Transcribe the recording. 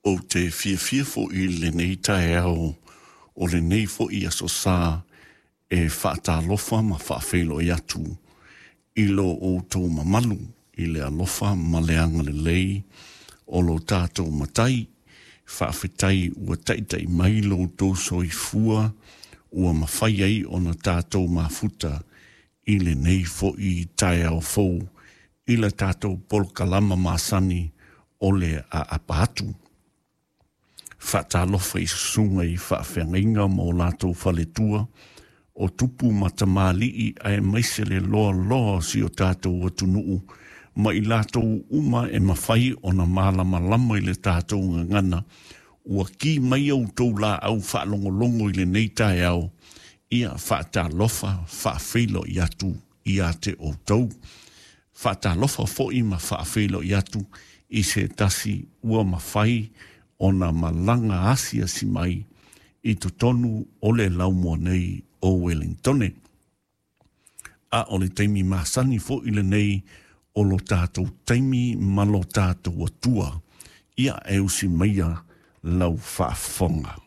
Ou te fiafia foi i lenei taeao o lenei foi Aso Sa e faatalofa ma faafeiloai atu i lo outou mamalu i le alofa ma le agalelei o lo tatou Matai. Faafetai ua taitai mai lo outou soifua ua mafai ai ona tatou mafuta i lenei foi taeao fou i la tatou polokalama masani o le aapa atu. Faatalofa i susuga i faafeagaiga ma o latou faletua, o tupu ma tamalii aemaise le loaloa o si o tatou atunuu ma i latou uma e mafai ona malamalama i le tatou gagana ua ki mai outou laau faalogologo i lenei taeao. Ia faatalofa faafeiloai atu ia te outou. Faatalofa foi ma faafeiloai atu i se tasi ua mafai ona malaga asiasi mai i totonu o le laumua nei o Wellingtone. A o le taimi masani foi lenei o lo tatou taimi ma lo tatou Atua. Ia e usi maia lau faafofoga.